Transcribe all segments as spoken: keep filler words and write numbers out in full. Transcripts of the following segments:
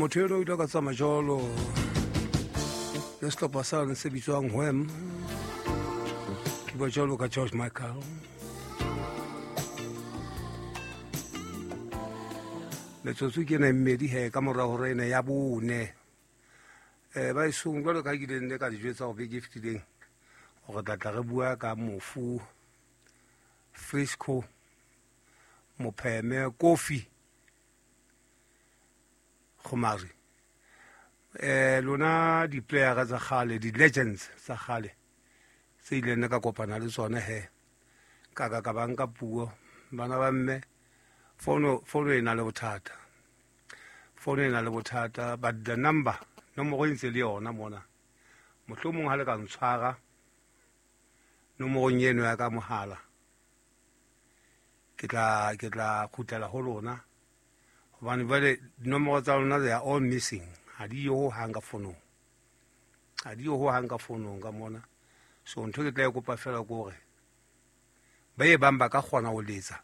Motho eno o ile ka tsamaya jalo le setlhopha sane se bitswang Wham, ke bua jalo ka George Michael. Metsotso ke ena e mmedi he ka mora hora ena ya bone. um ba esong jwalo ka ke ile nne ka dijo tsa go beke e fetileng gore tla tla re bua ka mofu Frisco Mopheme Kofi Gomari. Eh lona di-playera tsa kgale, di-legends tsa kgale tse ileng nne ka kopana le tsone he ka ka ka bang ka puo bana ba mme fono fono e na le bothata, fono e na le bothata, but the number nomoro e ntse le yona mona, mohlomong ha le ka ntshwara nomorong eno ya ka mohala ke tla ke tla kgutlela ho lona, hobane jwale dinomoro tsa lona they are all missing, ha di yo hohang ka fonong, ha di yo hohang ka fonong ka mona. So ntho ke tla e kopa fela ke hore ba e bang ba ka kgona ho letsa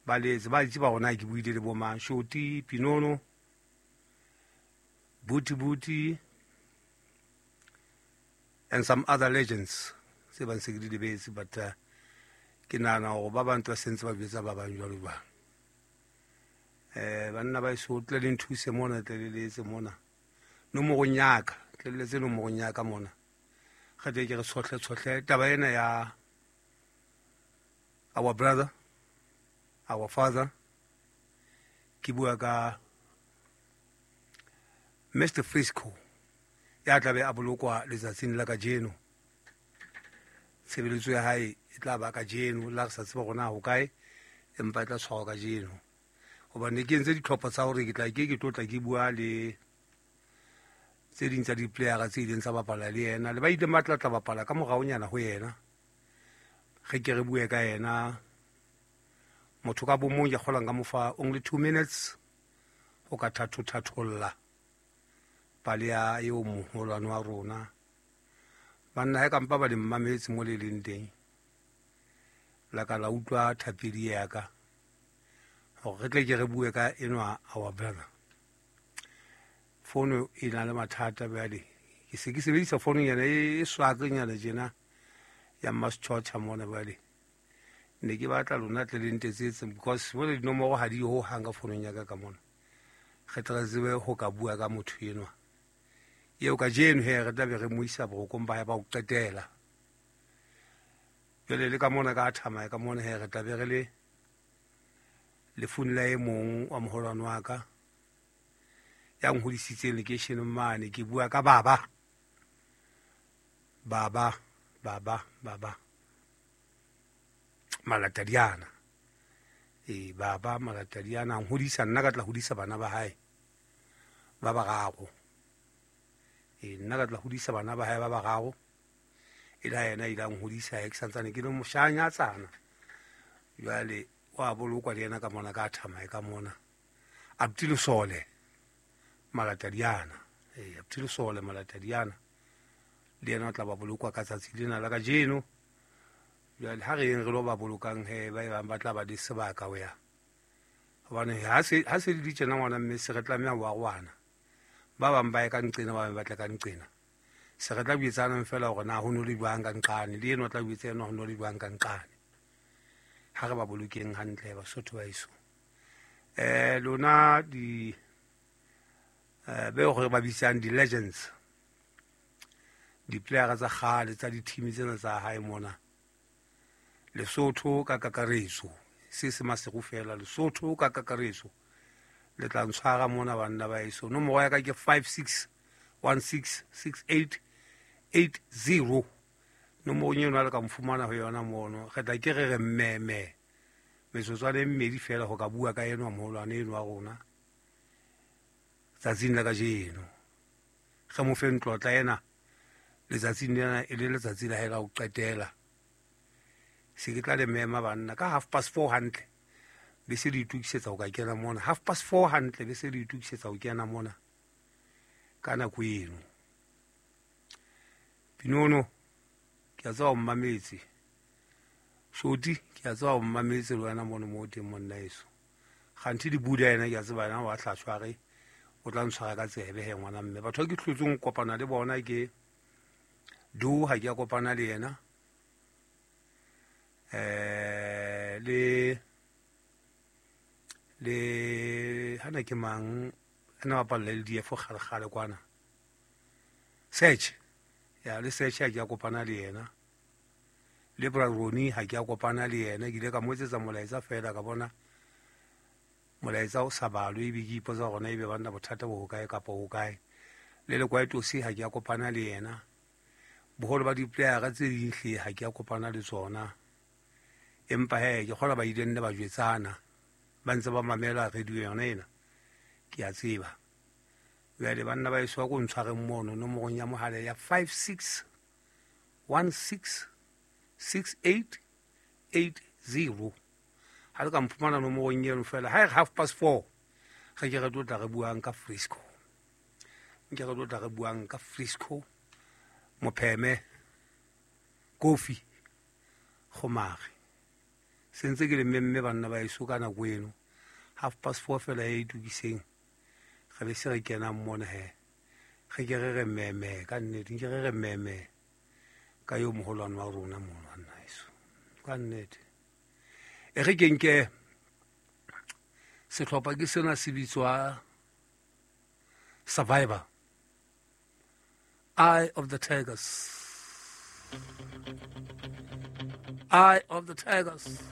ba letse, ba itse ba rona ke buile le bo mang, Shoti Pinono, Buti Buti and some other legends tse bang se ke di lebetse, but uh, ke nahana hore ba bang ba sentse ba jwetsa ba bang jwalo jwalo. Eh banna ba eso tle le nthuse mona, tle le letse mona nomorong ya ka, tle le letse nomorong ya ka mona, re tle ke re tshohle tshohle taba ena ya our brother, our father. Ke bua ka Mister Frisco ya tla be a bolokwa letsatsing la kajeno. Tshebeletso ya hae e tla ba kajeno, la re sa tseba hore na ho kae, empa e tla tshwarwa kajeno. Hobane ke entse ditlhopho tsa hore ke tla ke ke tlo tla ke bua le tse ding tsa di-playera tse ileng tsa bapala le yena, le ba ileng ba tla tla bapala ka moraonyana ho yena, re ke re bue ka yena. Motho ka bomong ke kgolang ka mo fa only two minutes ho ka thatho-thatholla pale ya eo moholwane wa rona. Banna ha kampa ba le mmametse mo le leng teng, la ka la utlwa thapedi ya ka hore re tle ke re bue ka enwa our brother. Fono e na le mathata bjale, ke se ke sebedisa fono nyana e swakanyana tjena ya Mmasetjhotjha mona bjale. Ne ke batla lona tle le ntetsetse because jwale dinomoro ha di yo hohang ka fonong ya ka ka mona. Re tle re tsebe ho ka bua ka motho enwa eo kajeno he re tla be re mo isa borokong ba hae ba ho qetela. Jwale le ka mona ka thamaya ka mona he re tla be re le lefung la e mong wa moholwane wa ka ya nhodisitseng lekeisheneng mane. Ke bua ka baba baba baba baba Malatadiana. E baba Malatadiana a nhodisa nna, ka tla hodisa bana ba hae ba bararo. E nna ka tla hodisa bana ba hae ba bararo, e la yena ile a nhodisa ke santsane ke le moshanyatsana. Jwale wa bolokwa le yena ka mona ka thamae ka mona Abuti Lesole Malatadiana. E Abuti Lesole Malatadiana le yena o tla ba bolokwa ka tsatsi lena la kajeno. Jwale ha re yeng re lo ba bolokang he ba bang ba tla ba le sebaka ho ya, hobane ha se ha se di tjena ngwana mme se re tlameha ho arohana. Ba bang ba ye ka nqena, ba bang ba tle ka nqena. Se re tla buetsanang fela hore na ho no le jwang ka nqane, le eno o tla buetsa ena ho no le jwang ka nqane. Ha re ba bolokeng hantle Basotho ba eso. Eh lona di eh be hore ba bitsang di-legends, di-playera tsa kgale tsa di-team tsena tsa hae mona Lesotho ka kakaretso, se se Maseru fela, Lesotho ka kakaretso le tla ntshwara mona banna ba eso. Nomoro ya ka ke five six one six six eight eight zero. Nomoro eno ha le ka mfumana ho yona mono, re tla ke re re mmeme metsotswana e mmedi fela ho ka bua ka enwa moholwane eno wa rona tsatsing la kajeno. Re mo fe ntlotla ena letsatsing lena e le letsatsi la hae la ho qetela. Se ke tla le mema banna ka half past four hantle be se le itokisetsa ho ka kena mona. Half past four hantle be se le itokisetsa ho kena mona ka nako eno. Pinono ke a tseba o mmametse, Shoti ke a tseba o mmametse le wena mono mo teng monna eso. Kganthi di buda yena ke a tseba yena wa tla tshware O tla ntshwara ka tsebe he ngwana mme. Batho ba ke hlotseng ho kopana le bona ke Do, ha ke a kopana le yena. Eh le le hana ke mang ana bapalla le D F kgale kgale kwana. Search. Ya le Search ha ke a kopana le yena. Le Braroni ha ke a kopana le yena, ke ile ka mo etsetsa molaetsa fela ka bona molaetsa o sa balwe ebe ke ipotsa hore na ebe banna bothata bo hokae kapa hokae. Le le Kwaitosi ha ke a kopana le yena. Boholo ba di-player tse ding hle ha ke a kopana le tsona. Empa he ke kgolwa ba ile nne ba jwetsana ba ntse ba mamela radio yona ena, ke a tseba. Jwale banna ba eso ko ntshwareng mono nomorong ya mohala ya five six one six six eight eight zero. Ha le ka mphumana nomorong eno fela ha e re half past four re ke re tlo tla re buang ka Frisco. Nke re tlo tla re buang ka Frisco, Mopheme, Kofi, Gomare. Sentse ke le mmemme banna ba eso ka nako eno. Half past four fela e itukiseng. Re be se re kenang mona he. Re ke re re mmemme ka nnete, nke re re mmemme ka yo moholwane wa rona mono banna eso. Ka nnete. E re ke nke sehlopha ke sena se bitswa Survivor. Eye of the Tigers. Eye of the Tigers.